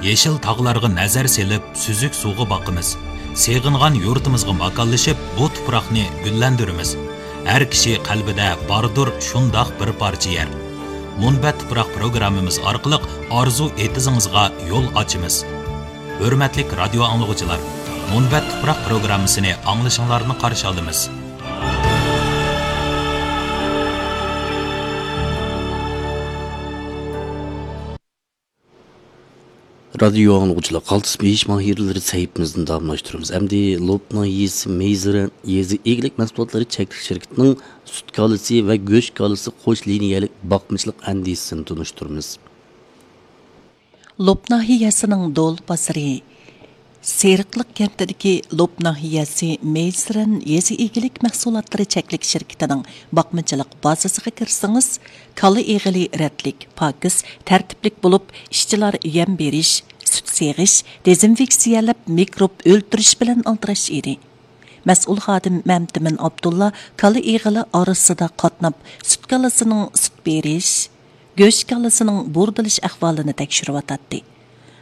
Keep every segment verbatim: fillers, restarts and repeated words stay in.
يېشىل تاغلارغا نەزەر سېلىپ، سۈزۈك سۇغا باقىمىز. سېغىنغان يۇرتىمىزغا ماكانلىشىپ، بۇ تۇپراقنى گۈللەندۈرىمىز. ھەر كىشى قەلبىدە باردۇر شۇنداق بىر پارچە يەر. مۇنبەت تۇپراق پروگراممىمىز ئارقىلىق ئارزۇ ئېتىزىڭىزغا يول ئاچىمىز. ھۆرمەتلىك رادىيو ئاڭلىغۇچىلار، مۇنبەت تۇپراق پروگراممىسىنى ئاڭلىشىڭلارنى قارشى ئالىمىز. رادىيو ئاڭلىغۇچىلار، قالتىس بېيىش ماھىرلىرى سەھىپىمىزنى داۋاملاشتۇرىمىز. ئەمدى لوپنۇ يېزىسى مېيزىرەن يېزا ئىگىلىك مەھسۇلاتلىرى چەكلىك شىركىتىنىڭ سۈت كالىسى ۋە گۆش كالىسى قوش لىنىيەلىك باقمىچىلىق ئەندىزىسىنى تونۇشتۇرىمىز. لوپ ناھىيەسىنىڭ دول بازىرى سېرىقلىق كەنتىدىكى لوپ ناھىيەسى مېيسىرەن يېزا ئىگىلىك مەھسۇلاتلىرى چەكلىك شىركىتىنىڭ باقمىچىلىق بازىسىغا كىرسىڭىز، كالا ئېغىلى رەتلىك، پاكىز، تەرتىپلىك بولۇپ، ئىشچىلار يەم بېرىش، سۈت سېغىش، دېزىنفېكسىيەلەپ، مىكروب ئۆلتۈرۈش بىلەن ئالدىراش ئىدى. مەسئۇل خادىم مەمتىمىن ئابدۇللا كالا ئېغىلى ئارىسىدا قاتناپ، سۈت كالىسىنىڭ سۈت بېرىش، گۆش كالىسىنىڭ بۇردىلىش ئەھۋالىنى تەكشۈرۈۋاتاتتى.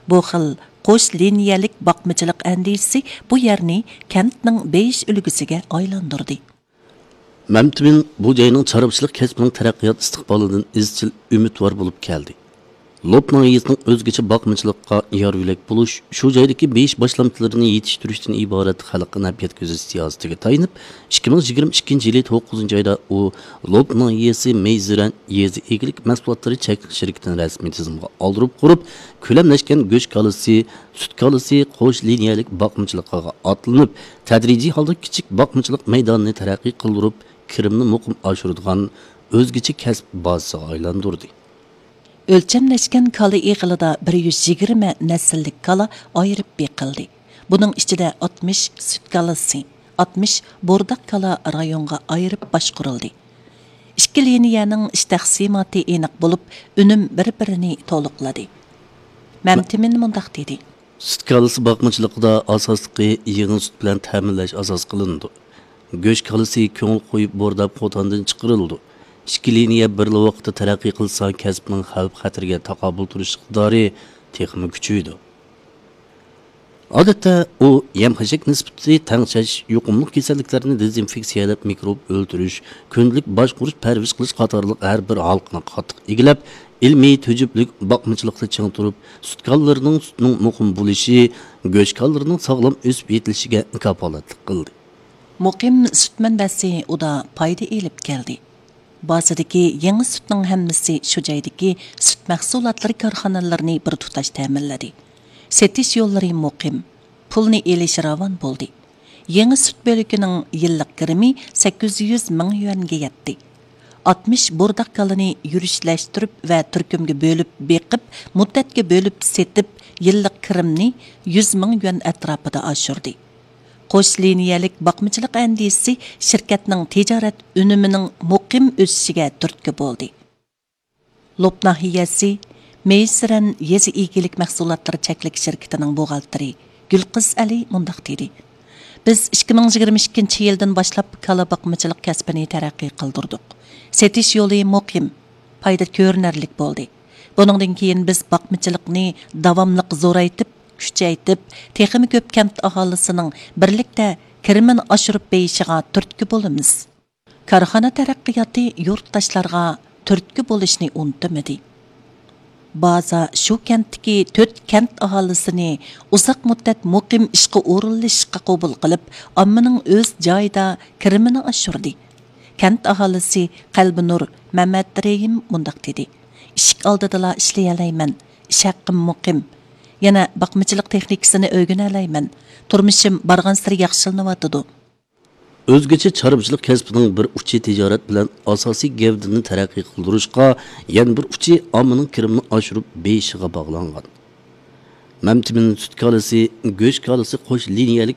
بۇ خىل قوش لىنىيەلىك باقمىچىلىق ئەندىزىسى بۇ يەرنى كەنتنىڭ بېيىش ئۈلگىسىگە ئايلاندۇردى. مەمتىمىن بۇ جاينىڭ چارۋىچىلىق كەسپىنىڭ تەرەققىيات ئىستىقبالىدىن ئىزچىل ئۈمىدۋار بولۇپ كەلدى. لوپ ناھىيەسىنىڭ ئۆزگىچە باقمىچىلىققا يار يۆلەك بولۇش، شۇ جايدىكى بېيىش باشلامچىلىرىنى يېتىشتۈرۈشتىن ئىبارەت خەلققە نەپ يەتكۈزۈش سىياسىتىگە تايىنىپ، ئىككى مىڭ يىگىرمە ئىككىنچى يىلى توققۇزىنچى ئايدا ئۇ لوپ ناھىيەسى مېيزىرەن يېزا ئىگىلىك مەھسۇلاتلىرى چەكلىك شىركىتىنى رەسمىي تىزىمغا ئالدۇرۇپ قۇرۇپ، كۆلەملەشكەن گۆش كالىسى، سۈت كالىسى، قوش لىنىيەلىك باقمىچىلىقىغا ئاتلىنىپ، تەدرىجىي ھالدا كىچىك باقمىچىلىق مەيدانىنى تەرەققىي قىلدۇرۇپ، كىرىمنى مۇقىم ئاشۇرىدىغان ئۆزگىچە كەسىپ بازىسىغا ئايلاندۇردى. ئۆلچەملەشكەن كالا ئېغىلىدا بىر يۈز يىگىرمە نەسىللىك كالا ئايرىپ بېقىلدى. بۇنىڭ ئىچىدە ئاتمىش سۈت كالىسى، ئاتمىش بورداق كالا رايونغا ئايرىپ باشقۇرۇلدى. ئىككى لىنىيەنىڭ ئىش تەقسىماتى ئېنىق بولۇپ، ئۈنۈم بىر-بىرىنى تولۇقلىدى. مەمتىمىن مۇنداق دېدى. سۈت كالىسى باقمىچىلىقىدا ئاساسلىقى يېڭى سۈت بىلەن تەمىنلەش ئاساس قىلىنىدۇ. گۆش كالىسى كۆڭۈل قويۇپ بورداپ قوتاندىن چىقىرىلىدۇ. ئىككى لىنىيە بىرلا ۋاقىتتا تەرەققىي قىلسا، كەسىپنىڭ خەۋپ-خەتىرىگە تاقابىل تۇرۇش ئىقتىدارى تېخىمۇ كۈچىيىدۇ. ئادەتتە ئۇ يەم-خەشەك نىسبىتى تەڭشەش، يۇقۇملۇق كېسەللىكلەرنى دېزىنفېكسىيەلەپ، مىكروب ئۆلتۈرۈش، كۈندىلىك باشقۇرۇش، پەرۋىش قىلىش قاتارلىق ھەر بىر ھالقىنى قاتتىق ئىگىلەپ، ئىلمىي تۈجۈپلۈك باقمىچىلىقتا چىڭ تۇرۇپ، سۈت كالىلىرىنىڭ سۈتىنىڭ مۇقىم بولۇشى، گۆش كالىلىرىنىڭ ساغلام ئۆسۈپ يېتىلىشىگە كاپالەتلىك قىلدى. مۇقىم سۈت مەنبەسى ئۇدا پايدا ئېلىپ كەلدى. بازىدىكى يېڭى سۈتنىڭ ھەممىسى شۇ جايدىكى سۈت مەھسۇلاتلىرى كارخانىلىرىنى بىر تۇتاش تەمىنلىدى. سېتىش يوللىرى مۇقىم، پۇلنى ئېلىش راۋان بولدى. يېڭى سۈت بۆلىكىنىڭ يىللىق كىرىمى سەككىز يۈز مىڭ يۈەنگە يەتتى. ئاتمىش بورداق كالىنى يۈرۈشلەشتۈرۈپ ۋە تۈركۈمگە بۆلۈپ بېقىپ، مۇددەتكە بۆلۈپ سېتىپ، يىللىق كىرىمنى يۈز مىڭ يۈەن ئەتراپىدا ئاشۇردى. قوش لىنىيەلىك باقمىچىلىق ئەندىزىسى شىركەتنىڭ تىجارەت ئۈنۈمىنىڭ مۇقىم ئۆسۈشىگە تۈرتكە بولدى. لوپ ناھىيەسى مېيسىرەن يېزا ئىگىلىك مەھسۇلاتلىرى چەكلىك شىركىتىنىڭ بوغالتىرى گۈلقىز ئەلى مۇنداق دېدى: بىز ئىككى مىڭ يىگىرمە ئىككىنچى يىلدىن باشلاپ كالا باقمىچىلىق كەسپىنى تەرەققىي قىلدۇردۇق. سېتىش يولى مۇقىم، پايدا كۆرۈنەرلىك بولدى. بۇنىڭدىن كېيىن بىز باقمىچىلىقنى داۋاملىق زورايتىپ، كۈچەيتىپ، تېخىمۇ كۆپ كەنت ئاھالىسىنىڭ بىرلىكتە كىرىمىنى ئاشۇرۇپ بېيىشىغا تۈرتكە بولىمىز. كارخانا تەرەققىياتى يۇرتداشلارغا تۈرتكە بولۇشنى ئۇنتۇمىدى. بازا شۇ كەنتتىكى تۆت كەنت ئاھالىسىنى ئۇزاق مۇددەت مۇقىم ئىشقا ئورۇنلىشىشقا قوبۇل قىلىپ، ئاممىنىڭ ئۆز جايىدا كىرىمىنى ئاشۇردى. كەنت ئاھالىسى قەلبىنۇر مەمەترېھىم مۇنداق دېدى: ئىشىك ئالدىدىلا ئىشلىيەلەيمەن، ئىش ھەققىم مۇقىم. يەنە باقمىچىلىق تېخنىكىسىنى ئۆگىنەلەيمەن. تۇرمۇشۇم بارغانسېرى ياخشىلىنىۋاتىدۇ. ئۆزگىچە چارۋىچىلىق كەسپىنىڭ بىر ئۇچى تىجارەت بىلەن ئاساسىي گەۋدىنى تەرەققىي قىلدۇرۇشقا، يەنە بىر ئۇچى ئاممىنىڭ كىرىمىنى ئاشۇرۇپ بېيىشىغا باغلانغان. مەمتىمىن سۈت كالىسى، گۆش كالىسى قوش لىنىيەلىك